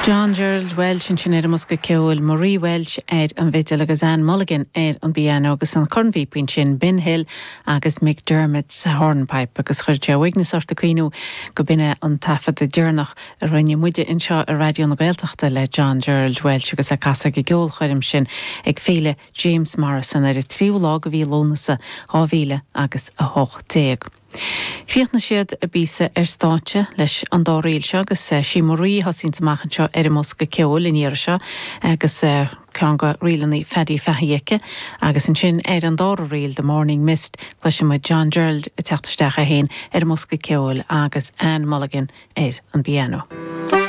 John Gerald Walsh ansin ar an mbosca ceoil, Marie Walsh ar an bhfidil agus Anne Mulligan ar an bpianó agus an cornphíopa ansin, Ben Hill agus McDermott's Hornpipe agus chuir sé uaigneas ort ag cuimhniú go b'in é an taifeadadh deireanach a rinne muide anseo ar Raidió na Gaeltachta le John Gerald Walsh agus é ag casadh ag an gceolchoirm sin ag Féile James Morrison ar an tríú lá de mhí Lúnasa 2000 agus 18. Chríochnaigh siad a bpíosa ar stáitse leis an dá ríl seo agus sí Marie a thosaíonns amach anseo ar an mbosca ceoil an iarraidh seo agus ceann de ríleanna Phaddy Fahey aici agus ansin ar an dara ríl, The Morning Mist, cloisfidh muid John Gerald ag teacht isteach é féin ar an mbosca ceoil agus Anne Mulligan ar an bpianó.